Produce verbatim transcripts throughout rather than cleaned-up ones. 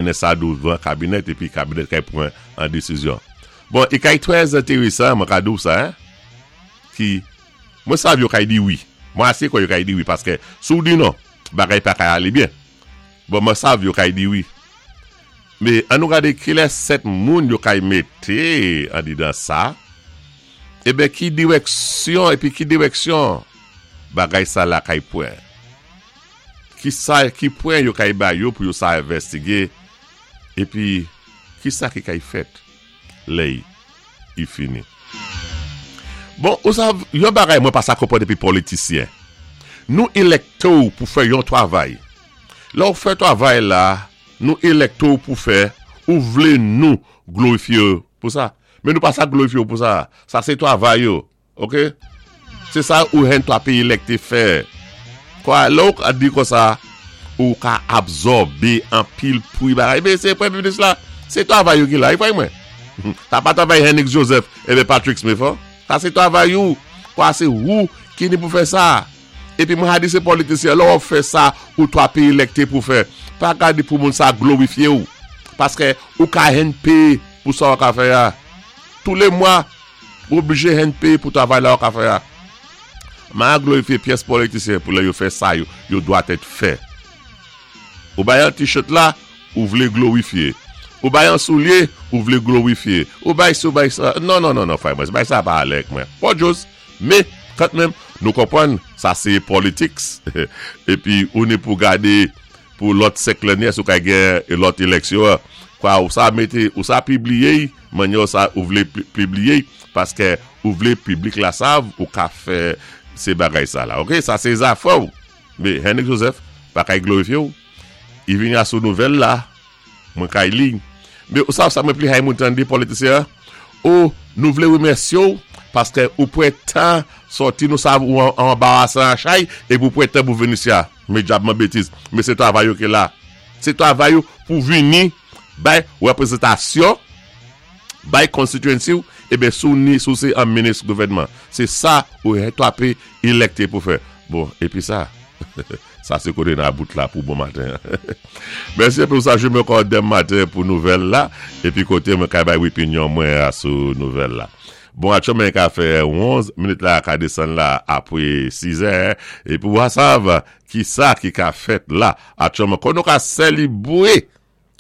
Mennen sa douvan kabinèt épi kabinèt kay pwan an désizyon. Bon, i kay twè entérésan, mwen ka di-w sa, ki, mwen sav yo kay di wi. Mwen asé kwè yo kay di wi, paské si-w di non, bagay pa kay alé byen. Bon, mwen sav yo kay di wi. Mé an nou gadé ki lè sèt moun yo kay mété andidan sa, eben ki diwèksyon, épi ki diwèksyon bagay sa la kay pwan. Ki sa, ki pwen yo kay ba yo pou yo sa envèstigé, épi ki sa ki kay fèt, lè i fini. Bon, ou sav, yon bagay mwen pa sa konpwann dépi politisyen. Nou élèkté-w pou fè yon twavay. Lè ou fè twavay la, nou élèkté-w pou fè, ou vlé nou glorifyé pou sa. Men nou pa sa glorifyé pou sa. Sa sé twavay yo, ok? Sé sa ou hen twa pé élèkté fè. Kwa, lè ou ka di kon sa, ou ka absòbé an pil pou bagay. Men sé Premyé Minis la, sé twavay yo ki la, i fwa mwen. Sa pa twavay Henry Joseph ébé Patrick Smith, oh. Sa sé twavay ou. Kwa sé ou ki ni pou fè sa. Épi mwen a di sé politisyen, lè ou fè sa, ou twa pé élèkté pou fè. Pa gade pou moun sa glorifyé ou. Paské ou ka hen péyé pou sa ou ka fè ya. Tou lé mwa, ou oblijé hen péyé pou twavay la ou ka fè ya. Ma glorifyé pyès politisyen pou lè yo fè sa yo, yo dwa tèt fè. Ou bay an t-shirt la, ou vlé glorifyé. Ou bay an soulyé, ou vlé glorifyé. Ou bay sa, ou bay sa. Non, non, non, non, frè mwen, bay sa pa alèk mwen. Pas jòs, mé, kantmenm, nou konpwann, sa sé politics. Épi, ou ni pou gadé pou lòt senk lanné, sou kay gen lòt éleksyon. Kwa, ou sa mété, ou sa pibliyé, mannyè sa ou vlé pibliyé, paské ou vlé piblik la sav, ou ka fè sé bagay sa la. Ok, sa sé zafè ou. Mé Henry Joseph, pa kay glorifyé ou. I vini a sou nouvèl la, mwen kay li. Mé ou sav sa mwen pli hay moun tandé politisyen? Ou nou vlé wimèsyé ou, paské ou pwan tan sòti nou sav ou an anbarasan an chay, é pou pwan tan pou vini isi a. Mé dyabman bétiz. Mé sé twavay yo ki la. Sé twavay yo pou vini bay wèpwézentasyon, bay constituency ou, ébé sou ni sou sé an minis gouvèdman. Sé sa ou twa pé élèkté pou fè. Bon, épi sa, sa sé koté nan bout la pou bon maten. Mèsi pou sa, jwenn ankò denmen maten pou nouvèl la, épi koté mwen kay bay opinyon mwen sou nouvèl la. Bon, aktyèlman ka fè onz minit la ka désann la apwé sis è, épi ou sav ki sa ki ka fèt la. Aktyèlman, kon nou ka sélébwé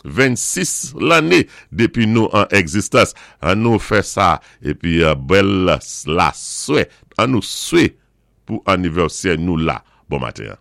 vennsis lanné dépi nou an ègzistans. An nou fè sa, épi bèl la swè, an nou swé pou anivèsè nou la. Bon maten.